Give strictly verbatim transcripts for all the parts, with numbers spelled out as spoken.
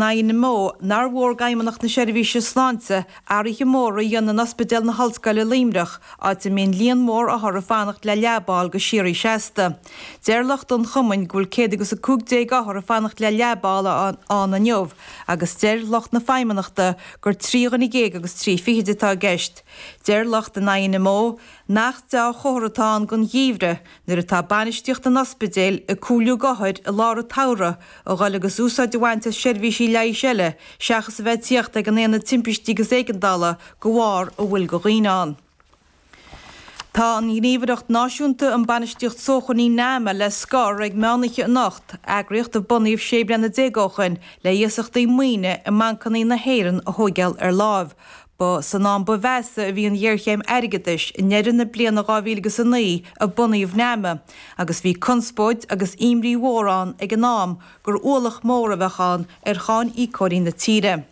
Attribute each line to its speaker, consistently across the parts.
Speaker 1: I N M O nár mhór d'Fheidhmeannacht na Seirbhíse Sláinte athruithe móra a dhéanamh in Ospidéal na hOllscoile Luimneach, áit a mbíonn líon mór othar ag fanacht le leaba a fháil go síoraí seasta. Deir lucht an chumainn go bhfuil céad agus a cúig déag othar ag fanacht le leaba a fháil ann inniu, agus deir lucht na feidhmeannachta gur trí dhuine déag agus trí fichid atá i gceist. Deir lucht an I N M O nach dea-chomhartha atá ann don gheimhreadh nuair atá bainistíocht an ospidéil ag comhairliú d'othair i lár an tsamhraidh a dhul agus úsáid a bhaint as seirbhísí leighis eile seachas a bheith tíocht ag an aonad timpistí agus éigeandála de bharr a bhfuil de dhaoine ann. Tá an Ghníomhaireacht Náisiúnta um Bainistíocht Sócmhainní NAMA le scor ag meánoíche anocht, eagraíocht a bunaíodh sé bliana déag ó shin le hiasachtaí maoine i mbancanna na hÉireann a thógáil ar láimh. Ba san am ba mheasa a bhí an ghéarchéim airgeadais i ndeireadh na bliana dhá mhíle agus a naoi a bunaíodh NAMA, agus bhí conspóid agus imní mhór ann ag an am gur ualach mór a bheadh ann ar cháiníocóirí na tíre.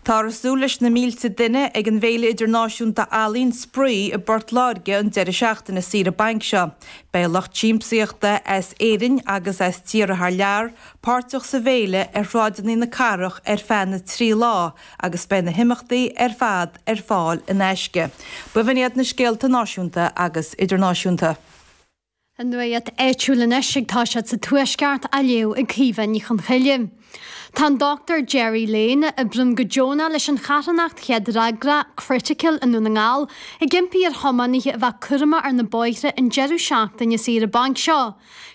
Speaker 1: Táthar ag súil leis na mílte duine ag an bhFéile Idirnáisiúnta Ealaíon Spraoi i bPort Láirge an deireadh seachtaine saoire bainc seo. Beidh lucht siamsaíochta as Éirinn agus as tíortha thar lear páirteach sa bhféile ar shráideanna na cathrach ar feadh na trí lá agus beidh na himeachtaí ar fad ar fáil in aisce. B'in iad na scéalta náisiúnta agus idirnáisiúnta.
Speaker 2: An nuacht áitiúil anois ag toiseacht sa Tuaisceart á léamh ag Caoimhe Ní Chonchoille. Tá an Doctor Jerry Lane, a oibríonn go deonach leis an charthanacht chéad fhreagra Critical i nDún na nGall, ag impí ar thiománaithe a bheith cúramach ar na bóithre an deireadh seachtaine saoire bainc seo.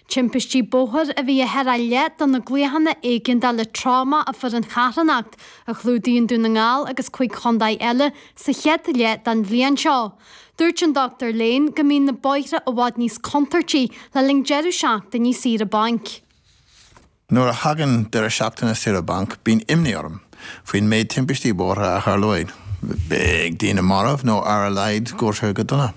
Speaker 2: Timpistí bóthair a bhí ar a leath de na glaochanna éigeandála tráma a fuair an charthanacht a chlúdaíonn Dún na nGall agus cúig chontae eile sa chéad leath den bhliain seo. Dúirt an Doctor Lane go mbíonn na bóithre i bhfad níos contúirtí le linn deireadh seachtaine saoire bainc.
Speaker 3: Nuair a thagann deireadh seachtaine saoire bainc, bíonn imní orm faoin méid timpistí bóithre a tharlóidh. Beidh daoine marbh nó ar a laghad gortaithe go dona.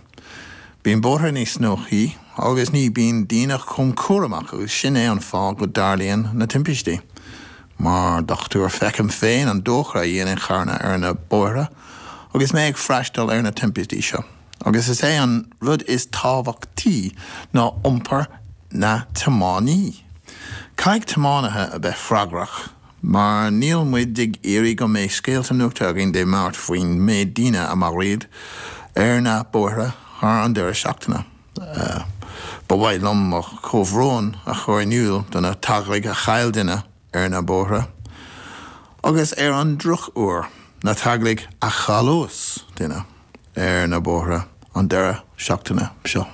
Speaker 3: Bíonn bóithre níos snóthaí agus ní bhíonn daoine chomh cúramach agus sin é an fáth go dtarlaíonn na timpistí. Mar dochtúir feicim féin an dochar a dhéanann carranna ar na bóithre agus mé ag freastal ar na timpistí seo. Agus is é an rud is tábhachtaí ná iompar na tiománaí. Caithfidh tiománaithe a bheith freagrach, mar níl muid ag iarraidh go mbeidh scéalta nuachta againn Dé Máirt faoin méid daoine a maraíodh ar na bóithre thar an deireadh seachtaine. Ba mhaith liom mo chomhbhrón a chur in iúl do na teaghlaigh a chaill duine ar na bóithre, agus ar an drochuair na teaghlaigh a chailliús duine ar na bóithre an deireadh seachtaine seo.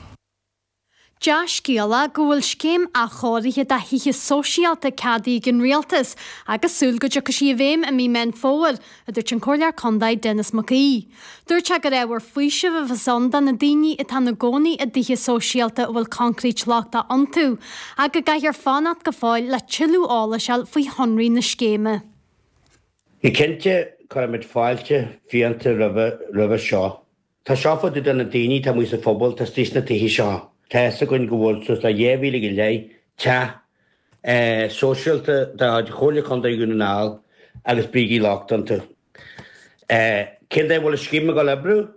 Speaker 2: Dea-scéala go bhfuil scéim athchóirithe de thithe sóisialta ceadaithe ag an rialtas agus súil go dtiocfaidh sí i bhfeidhm i mí Meán Fómhair, a dúirt an Comhairleoir Contae Denis Mac Aoidh. Dúirt sé gur ábhar faoisimh a bheas ann do na daoine atá ina gcónaí i dtithe sóisialta a bhfuil concrete lochtach iontu, ach go gcaithfear fanacht go fóill le tuilleadh eolais a fháil faoi shonraí na scéime.
Speaker 4: Go cinnte cuirfimid fáilte fiánta roimhe roimhe seo. Tá seo fá dtaobh de na daoine atá amuigh sa phobal tá istigh sna tithe seo. Tá fhios againn go bhfuil suas le dhá mhíle go leith teach sóisialta de chuid Chomhairle Contae Dhún na nGall agus brící lochtacha iontu. Cén dóigh a bhfuil an scéim ag dul oibriú?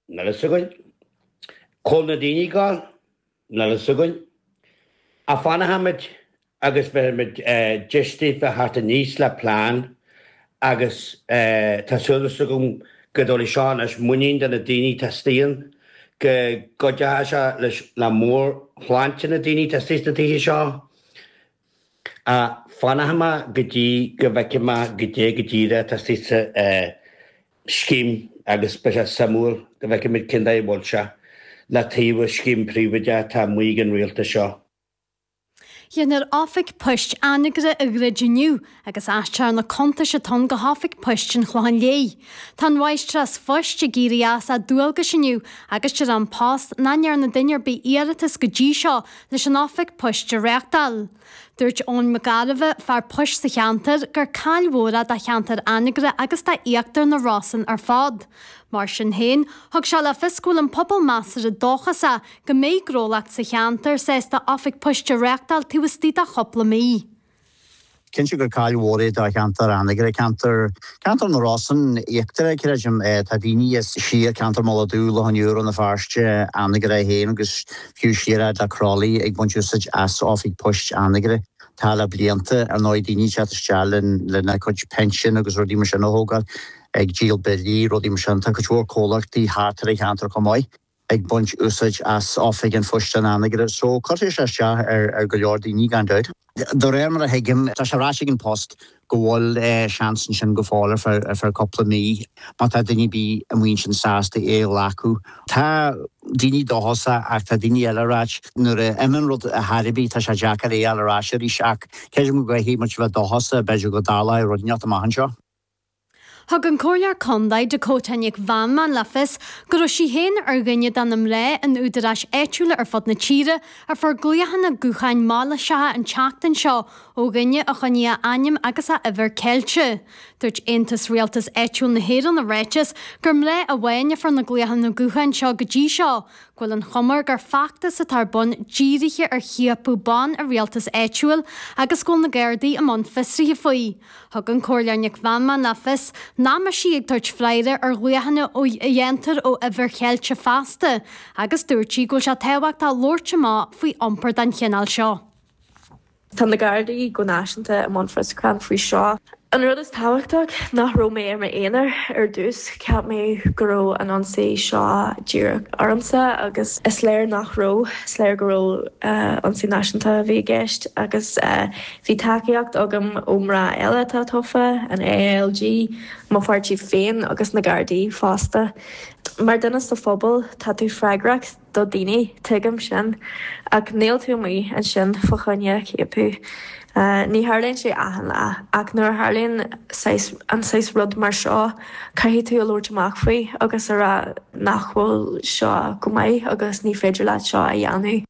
Speaker 4: Níl fhios againn. Cá bhfuil na daoine ag dul? Níl fhios againn. Ach fanfaimid agus beimid deis daofa theacht aníos le plean agus tá súil agam go dtabharfaidh seo anois muinín do na daoine atá istigh ann, go gcuideoidh sé leis le meabhairshláinte na daoine atá istigh sna tithe seo. Ach fanfaidh mé go dtí go bhfeicfidh mé goidé go díreach atá istigh sa scéim agus beidh sé suimiúil go bhfeicfimid cén dóigh a bhfuil sé le taobh an scéim príobháideach atá amuigh ag an rialtas seo.
Speaker 2: Déanfar oifig poist Anagaire a dhruid inniu agus aistreofar na cuntais atá ann go hoifig poist an Chlocháin Léith. Tá an mháistreás phoist ag éirí as a dualgais inniu agus deir An Post nach ndearna duine ar bith iarratas go dtí seo leis an oifig poist a reáchtáil. Dúirt Eoin Mac Gairbheith, fear poist sa cheantar, gur caill mhór é do cheantar Anagaire agus d'íochtar na Rosann ar fad. Mar sin féin, thug sé le fios go bhfuil an pobal measartha dóchasach go mbeidh gnólacht sa cheantar sásta oifig poist a reáchtáil taobh istigh de chúpla mí.
Speaker 5: Cinnte gur caill mhór é do cheantar Anagaire, ceantar ceantar na Rosann íochtar, creidim. Tá daoine as siar ceantar Mhullach Dubh, Loch an Iúir, Rann na Feirste, Anagaire féin agus fiú siar le Crolly ag baint úsáid as oifig poist Anagaire. Tá le blianta ar ndóigh daoine ag teacht isteach lena cuid pension agus rudaí mar sin a thógáil ag díol billí rudaí mar sin tá cuid mhór comhlachtaí thart ar an cheantar chomh maith ag baint úsáid as oifig an phoist in Anagaire so cuirfidh sé isteach ar ar go leor daoine gan dabht. De réir mar a thuigim tá sé ráite ag An Post go bhfuil seans ansin go fóill ar feadh ar feadh cúpla mí má tá duine ar bith amuigh ansin sásta é a ghlacadh. Tá daoine dóchasach ach tá daoine eile ag ráit nuair a imíonn rud ar chor ar bith tá sé deacair é a fháil ar ais arís ach creidim go gcaithfidh muid bheith dóchasach b'fhéidir go dtarlóidh rud inteacht amach anseo.
Speaker 2: Thug an Comhairleoir Contae Dakota Nic Mheanman le fios go raibh sí féin ar dhuine de na mná in údaráis áitiúla ar fud na tíre a fuair glaochanna gutháin mailíseacha an tseachtain seo ó dhuine a choinnigh a ainm agus a uimhir ceilte. Dúirt Aontas Rialtas Áitiúil na hÉireann i ráiteas gur mná amháin a fuair na glaochanna gutháin seo go dtí seo, go bhfuil an chuma air gur feachtas atá ar bun dírithe ar chiapadh ban i rialtas áitiúil agus go bhfuil na Gardaí i mbun fiosraithe faoi. Thug an Comhairleoir Nic Mheanman le fios nach mbeadh sí ag tabhairt freagra ar ghlaochanna a dhéantar ó uimhir cheilte feasta agus dúirt sí go bhfuil sé tábhachtach labhairt amach faoi iompar den chineál seo.
Speaker 6: Tá na Gardaí go náisiúnta i mbun fiosrúchán faoi seo. An rud is tábhachtach nach raibh mé ar m'aonar ar dtús, cheap mé go raibh an ionsaí seo díreach ormsa agus is léir nach raibh, is léir go raibh ionsaí náisiúnta a bhí i gceist agus bhí tacaíocht agam ó mná eile atá tofa, an ALG, mo pháirtí féin agus na Gardaí fosta. Mar duine sa phobal tá tú freagrach do daoine, tuigim sin, ach níl tú amuigh ansin fá choinne ciapadh. Ní tharlaíonn sé achan lá, ach nuair a tharlaíonn saghas an saghas rud mar seo, caithfidh tú a labhairt amach faoi agus a rá nach bhfuil seo go maith agus ní féidir leat seo a dhéanamh.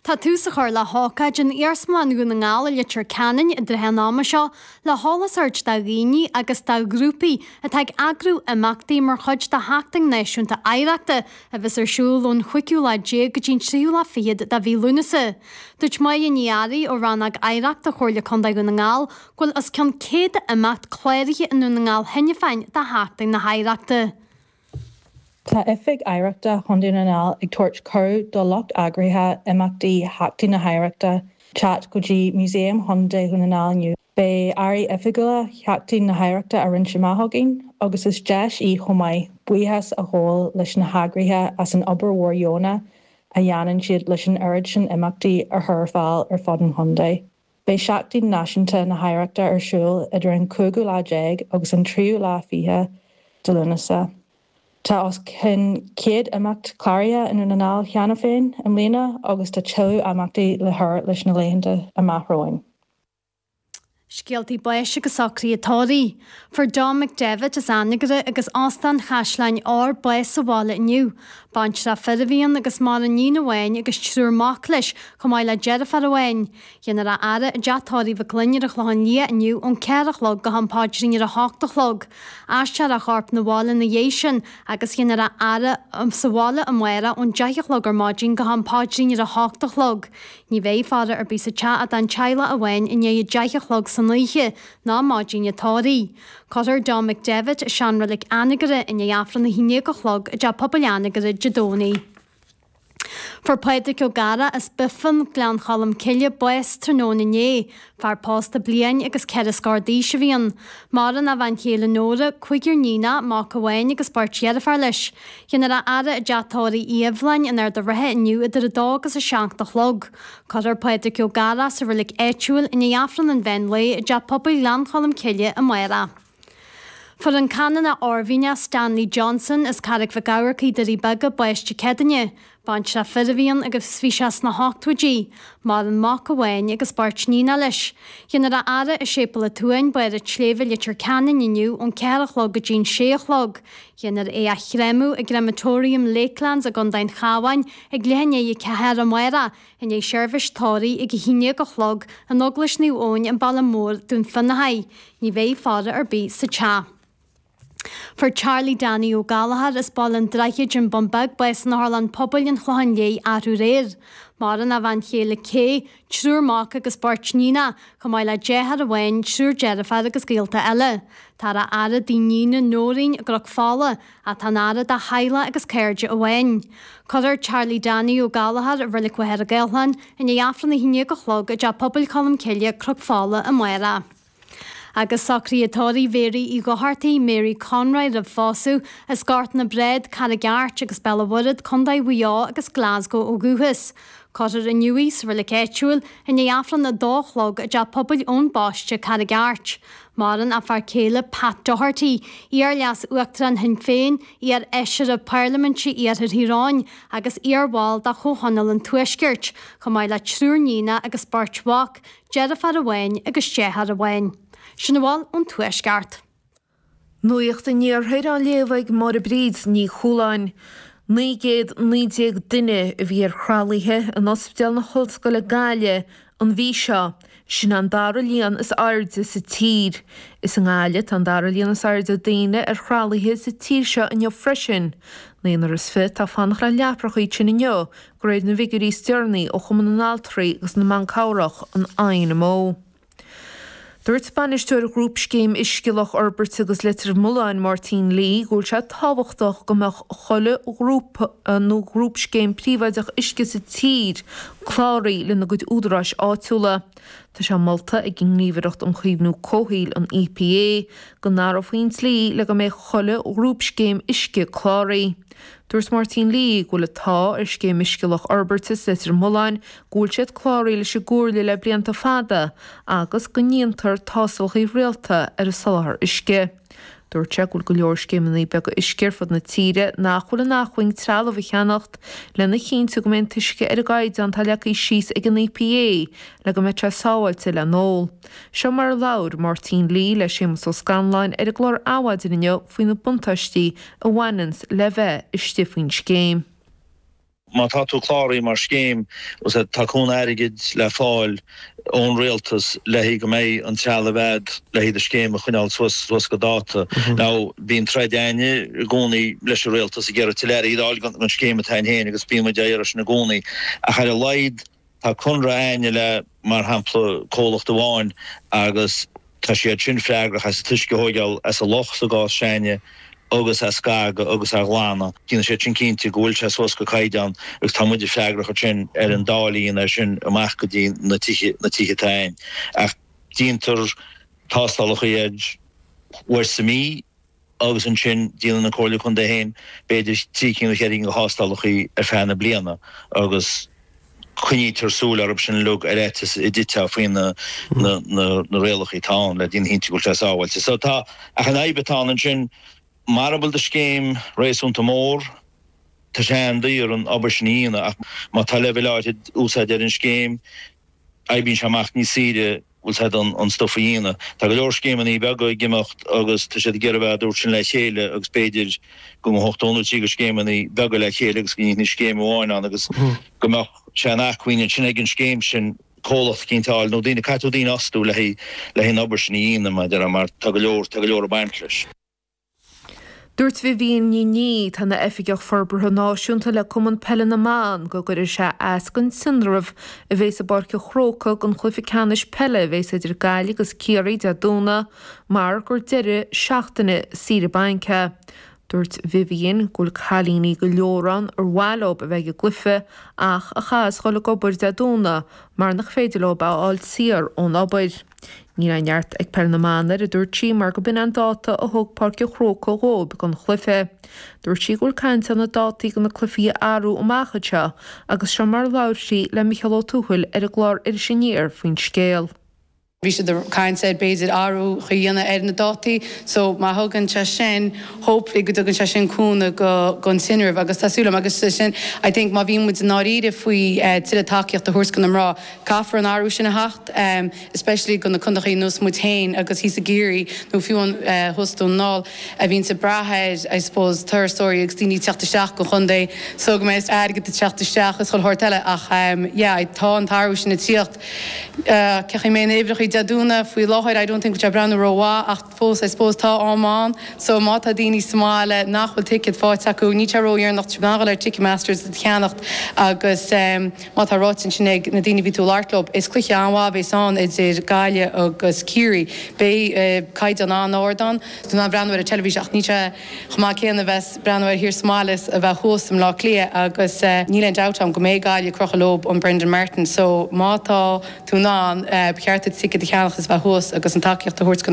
Speaker 2: Tá tús á chur le hócáid in Iarsmalann Dhún na nGall i Leitir Ceanainn i dtrátha an ama seo le heolas a thabhairt do dhaoine agus do ghrúpaí atá ag eagrú imeachtaí mar chuid de Sheachtain Náisiúnta Oidhreachta a bheas ar siúl ón chúigiú lá déag go dtí an tríú lá fichead de mhí Lúnasa. Dúirt Máire Ní Fhearraigh ó Rannóg Oidhreachta Chomhairle Contae Dhún na nGall go bhfuil os cionn céad imeacht cláraithe i nDún na nGall cheana féin do Sheachtain na hOidhreachta.
Speaker 7: Tá Oifig Oidhreachta Chontae na nGall ag tabhairt cuireadh do lucht eagraithe imeachtaí Sheachtain na hOidhreachta teacht go dtí Músaem Chontae Dhún na nGall inniu. Beidh earraí oifigiúla Sheachtain na hOidhreachta á roinnt amach againn, agus is deis í chomh maith buíochas a ghabháil leis na heagraithe as an obair mhór dheonach a dhéanann siad leis an oiread sin imeachtaí a chur ar fáil ar fud an chontae. Beidh Seachtain Náisiúnta na hOidhreachta ar siúl idir an cúigiú lá déag agus an tríú lá fiche de Lúnasa. Tá os cionn céad imeacht cláraithe i nDún na nGall cheana féin i mbliana agus tá tuilleadh imeachtaí le cur leis na laethanta amach romhainn.
Speaker 2: Scéaltaí báis agus socruithe tórraimh. Fuair Dom McDevitt as Anagaire agus Óstán Chaisleáin Odhair bás sa bhaile inniu. Baintreach fir a bhí ann agus maireann iníon amháin agus triúr mac leis, chomh maith le deirfiúr amháin. Déanfar a fhaire i dteach tórraimh Mhic Fhloinn ar an Chlochán Liath inniu ón ceathair a chlog go ham paidrín ar a hocht a chlog. Aistreofar a chorp 'na bhaile ina dhiaidh sin agus déanfar a fhaire sa bhaile amárach ón deich a chlog ar maidin go ham paidrín ar a hocht a chlog. Ní bheidh faire ar bith sa teach ach don teaghlach amháin i ndiaidh a deich a chlog san oíche ná maidin an tórraimh. Cuirfear Dom McDevitt i seanreilig Anagaire i ndiaidh Aifreann a haon déag a chlog i dTeach Pobail Anagaire Dé Domhnaigh. Fuair Pádraig Ó Gadhra as Bifan, Gleann Cholm Cille, bás tráthnóna inné. Fear pósta bliain agus ceithre scór d'aois a bhí ann. Maireann a bhean chéile Nóra, cúigear níonach, mac amháin agus beirt dheirféar leis. Déanfar a fhaire i dteach tórraimh Uí Eibhleáin in Ard an Rátha inniu idir a dó agus a seacht a chlog. Cuirfear Pádraig Ó Gadhra sa reilig áitiúil i ndiaidh Aifreann an mheán lae i dTeach Pobail Ghleann Cholm Cille amárach. Fuair an Canónach Oirmhinneach Stanley Johnson as Carraig Mhic Eamharcaigh, Doirí Beaga, bás Dé Céadaoine. Baintreach fir a bhí ann agus bhí sé sna hochtóidí. Maireann mac amháin agus beirt níonach leis. Déanfar a fhaire i Séipéal an tSuain, Barr an tSléibhe, Leitir Ceanainn inniu ón ceathair a chlog go dtí'n sé a chlog. Déanfar é a chréamadh i gCrematorium Lakelands i gContae an Chabháin ag leath i ndiaidh a ceathair amárach, i ndiaidh seirbhís tórraimh ag a haon déag a chlog in Eaglais Naomh Eoin, an Baile Mór, Dún Fionnachaidh. Ní bheidh faire ar bith sa teach. Fuair Charlie Danny Ó Gallchóir as Baile an Droichid, An Bun Beag, bás in Otharlann Pobail an Chlocháin Léith arú aréir. Maireann a bhean chéile Kay, triúr mac agus beirt níon, chomh maith le deartháir amháin, triúr deirfiúr agus gaolta eile. Táthar á fhaire d'iníon Nóirín i gCnoc Fola, ach tá an fhaire dá theaghlach agus cairde amháin. Cuirfear Charlie Danny Ó Gallchóir i Reilig Mhachaire Gathlán i ndiaidh Aifreann a haon déag a chlog i dTeach Pobail Cholmcille, Cnoc Fola amárach. Agus socruithe tórraimh Mhéaraí Uí Dhochartaigh, Mary Conroy roimh phósadh, as Gort na Bréad, Carraig Airt agus Béal an Mhuirthead, Contae Mhaigh Eo agus Glasgow ó dhúchas. Cuirfear inniu í sa reilig áitiúil i ndiaidh Aifreann a dó a chlog i dTeach Pobail Eoin Baiste, Carraig Airt. Maireann a fear céile Pat Doherty, iar-leas Uachtarán Shinn Féin, iar-fheisire Parlaiminte Iarthar Thír Eoghain agus iarbhall de Chomhthionól an Tuaiscirt, chomh maith le triúr níon agus beirt mhac, deirfiúr amháin agus deartháir amháin. Sin a bhfuil ón Tuaisceart.
Speaker 8: Nuacht an Iarthair á léamh ag Máire Bríd Ní Chualáin. Naoi gcéad naoi déag duine a bhí ar thralaithe in Ospidéal na hOllscoile Gaillimh an mhí seo. Sin an dara líon is airde sa tír. Is i nGaillimh atá an dara líon is airde daoine ar thralaithe sa tír seo inniu freisin. Naonúr is fiche atá ag fanacht le leapracha ansin inniu, de réir na bhfigiúirí is deireanaí ó Chumann na nAltraí agus na mBan Cabhrach, an INMO. Dúirt bainisteoir Ghrúpscéim Uisce Loch Fhorbairt agus Leitir Mealláin, Máirtín Lee, go bhfuil sé tábhachtach go mbeadh chuile ghrúpa nó grúpscéim príobháideach uisce sa tír cláraithe lena gcuid údaráis áitiúla. Tá sé molta ag an nGníomhaireacht um Chaomhnú Comhshaoil, an EPA, go n-athrófaí an dlí le go mbeidh chuile ghrúpscéim uisce cláraithe. Dúirt Máirtín Lee go bhfuil an t-ádh ar Scéim Uisce Loch Fhorbairt is Leitir Mealláin go bhfuil siad cláraithe leis an gComhairle le blianta fada agus go ndéantar tástálacha rialta ar a soláthar uisce. Dúirt sé go bhfuil go leor scéimeanna beaga uisce ar fud na tíre nach bhfuil in acmhainn trealamh a cheannacht lena chinntiú go mbeidh an t-uisce ar an gcaighdeán atá leagtha síos ag an EPA le go mbeidh sé sábháilte le n-ól. Seo mar a labhair Máirtín Lee le Séamus Ó Scanláin ar an gclár Adhmhaidin inniu faoi na buntáistí a bhaineanns le bheith istigh faoin scéim.
Speaker 9: Má tá tú cláraithe mar scéim, tá cúnamh airgid le fáil ón rialtas le haghaidh go mbeidh an trealamh a'd le haghaidh do scéim a choinneáil suas suas go dáta. Now bíonn troid a'inne i gcónaí leis an rialtas ag iarraidh tuilleadh airgid a fháil don scéim atá a'inn féin agus bíonn muid á iarraidh sin i gcónaí. Ach ar a laghad tá conradh a'inne le, mar shampla, comhlacht amháin agus tá siad sin freagrach as an t-uisce a thóigeáil as an loch sa gcás s'a'inne agus a scagadh agus a ghlanadh. Déanann siad sin cinnte go bhfuil sé suas go caighdeán agus tá muide freagrach ansin ar an dáileadh a dhéanamh air sin amach go dtí na tithe, na tithe atá a'inn. Ach déantar tástálacha air uair sa mhí agus ansin déanann an Comhairle Contae féin b'fhéidir trí cinn nó ceithre cinn de thástálacha ar feadh na bliana agus coinnítear súil orthu sin uilig ar fhaitíos a dtitfeá faoi na na rialacha atá ann le déanamh cinnte go bhfuil sé sábháilte. So tá, ach an fhadhb atá ann ansin, mara bhfuil do scéim réasúnta mór, tá sé an-daor an obair sin a dhéanamh ach má tá leibhéal áirid úsáide ar an scéim, oibríonn sé amach níos saoire, bhfuil a fhios a'd, an stuif a dhéanamh. Tá go leor scéimeanna beaga ag imeacht agus tá siad ag iarraidh a bheith, dúirt sin le chéile agus b'fhéidir go mbeadh ochtó nó trí de scéimeanna beaga le chéile agus go ndéanfaí scéim amháin ann agus go mbeadh sé in acmhainn ansin ag an scéim sin comhlacht eicínt a fháil nó daoine, caithfidh tú daoine a fhostú le haghaidh le haghaidh an obair sin a dhéanamh, mar a déarfá, mar tá go leor, tá go leor ag baint leis.
Speaker 8: Dúirt Vivian Ní Niadh, atá ina Oifigeach Forbartha Náisiúnta le Cumann Peile na mBan, go gcuirfidh sé as don tinreamh a bhéas i bPáirc an Chrócaigh don chluiche ceannais peile a bhéas idir Gaillimh agus Ciarraí Dé Domhnaigh mar gur deireadh seachtaine saoire bainc é. Dúirt Vivian go bhfuil cailíní go leor ann ar mhaith leo a bheith ag an gcluiche ach a chaithfeas dhul ag obair Dé Domhnaigh mar nach féidir leo a fháil saor ón obair. Níl aon neart ag Peil na mBan air, a dúirt sí, mar go b'in an dáta a thug Páirc an Chrócaigh dhóibh don chluiche. Dúirt sí go bhfuil caint ann na dátaí do na cluichí a athrú amach anseo agus seo mar a labhair sí le Micheál Ó Tuathail ar an gclár Iris Aniar faoin scéal.
Speaker 10: Bhí siad ag caint ar b'fhéidir athrú a dhéanamh ar na dátaí so má thugann sé sin, hopefully go dtugann sé sin cúnamh go don tinreamh agus tá súil agam agus sin I think má bhíonn muid i ndáiríre faoi tuilleadh tacaíocht a thabhairt do na mná caithfear an athrú sin a theacht especially do na contaetha ar nós muid féin agus thíos i gCiarraí nó fiú an thuas Dún na nGall a bhíonns ag brath ar I suppose turasóirí agus daoine ag teacht isteach go chontae so go mbeidh airgead ag teacht isteach is chuile shórt eile ach yeah tá an t-athrú sin ag tíocht. Ceapaim mé na huimhreacha Dé Domhnaigh faoi láthair I don't think go breathnú rómhaith ach fós I suppose tá am ann so má tá daoine sa mbaile nach bhfuil ticéad faighte acu níl sé ródheireanach dul ar Ticketmasters a cheannacht agus um, má tá ráite sin ag na daoine bhí tú ag labhairt leo is cluiche an-mhaith a bheas ann idir Gaillimh agus Ciarraí Beidh uh, caighdeán an-ard ann ná breathnú ar an teilifís ach níl sé chomh maith céanna bheith breathnú air thiar sa mbaile a bheith thuas i mBleá Cliath agus uh, níl aon dabht ann go mbeidh Gaillimh ag crochadh leo an Brendan Martin so má tá tú ann uh, ceart ticéad a cheannach is bheith thuas agus an tacaíocht a thabhairt